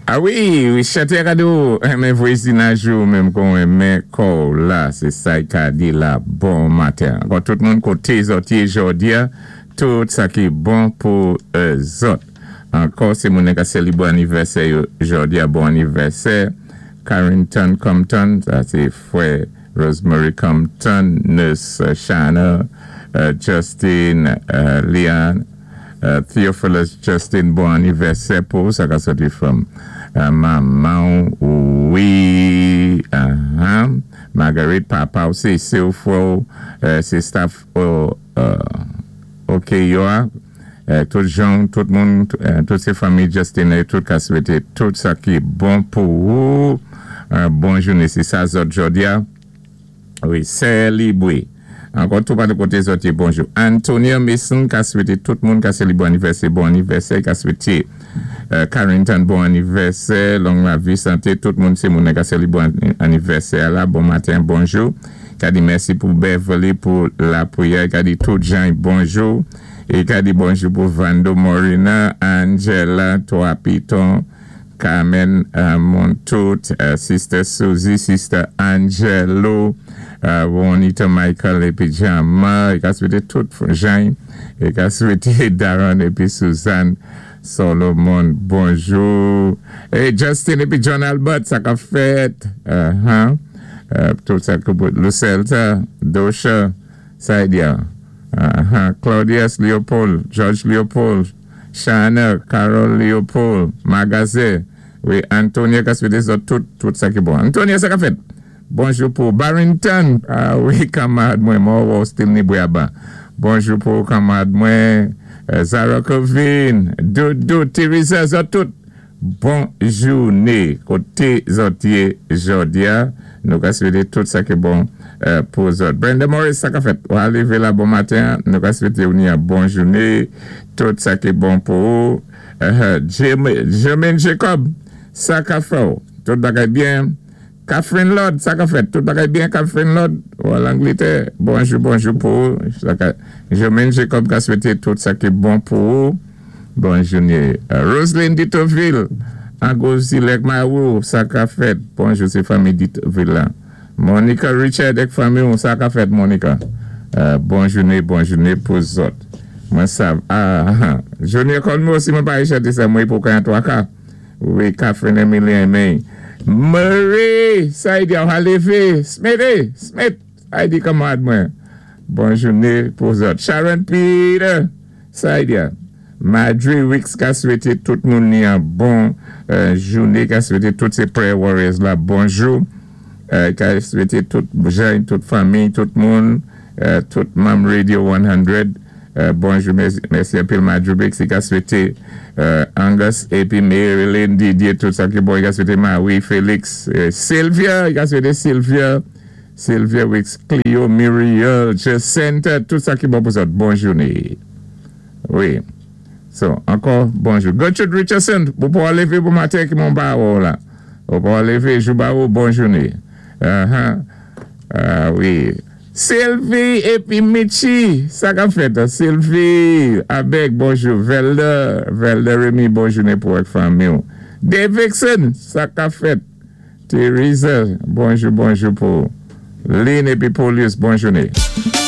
A wi, wi chantè ka di ou renmen vwezinaj ou menm kon renmen kò w la se sa y ka di la bon maten ankò tout moun kote zòt ye jòdi a tout sa ki bon pou zòt ankò se moun ka selibre anivèsè yo jòdi a bon anivèsè Carrington Compton sa se frè Rosemary Compton nurse Shana Justin Leon. Theophilus Justin bon anivèsè pou ou sa ka soti from manman w wi aah Marguerite papa w se se w frè w se staff ok yo a tout jan w tout moun tout se fanmi Justin e tout ka swete tout sa ki bon pou ou bon joune se sa zòt jòdia. Wi sè Libre. Ankò tou pa kote zòt ye bonjou. Antonia Mason ka swete tout moun ka selibre anivèsè bon anivèsè ka swete Carrington bon anivèsè long lavi sante tout moun se moun ka selibre anivèsè a la bon maten bonjou ka di mèsi pou Beverly pou lapriyè ka di tout jan bonjou e ka di bonjou pou Vando Morina Angela 3 piton Carmen Montout, Sister Suzy, Sister Angelo, Ronita Michael epi Jama, e ka swete tout Jany, e ka swete Daron epi Suzanne Solomon bonjou. E Justin epi John Albert sa kap fèt? Tout sa k Lucelta, Dosha, Saidia, Claudius Leopold, George Leopold, Shana, Carole Leopold, Magaze, wi Antonia ka swete zòt tout tout sa ki bon. Antonia sa kap fèt? Bonjou pou ou Barrington, ah wi kanmarad mwen mò wè w still ni bwe aba. Bonjou pou ou kanmarad mwen Zara Covin, Doudou, Teresa zòt tout. Bon joune kote zòt ye jòdia nou ka swete tout sa ki bon pou zòt Brenda Morris sa ka fèt wa leve la bon maten an nou ka swete ou ni yon bon joune tout sa ki bon pou ou Germaine Jacob sa ka fè w tout bagay byen Catherine Lord sa ka fèt tout bagay byen Catherine Lord ou al Angletè bonjou bonjou pou ou Germaine Jacob ka swete tout sa ki bon pou ou bon joune Roseline Ditoville Angouzilèk Marou sa ka fèt bonjou se fanmi Ditoville la Monica Richard ak fanmi ou sa ka fèt Monica bon joune bon joune pou zòt mwen sav ah Junior Colmo si mwen pa chante sa mwen pou kan 3 ka. Wi Catherine Emilien men Murray sa di a w leve Smith eh Smith sa di kanmarad mwen bon joune pou zòt Sharon Peter sa di a Madry Wicks ka swete tout moun ni an bon joune ka swete tout se prayer warriors la bonjou ka swete tout jan tout fanmi tout moun tout manm radio 100 Bonjou mèsi anpil Madjoubix li ka swete Angus epi Maryline Didier tout sa ki bon li ka swete Marie Felix Sylvia li ka swete Sylvia Sylvia Wix Clio Muriel Jacintha tout sa ki bon pou zòt bon joune wi so ankò bonjou Gertrude Richardson ou pa leve bon maten ki mon ba wè w la ou pa leve jou ba ou bon joune wi. Sylvie epi Mitchi sa kap fèt Sylvie Abeg bonjou Velda Velda Remy bon jounen pou ak fanmiw Davidson sa kap fèt Theresa bonjou bonjou pou Lynn epi Polius bon jounen.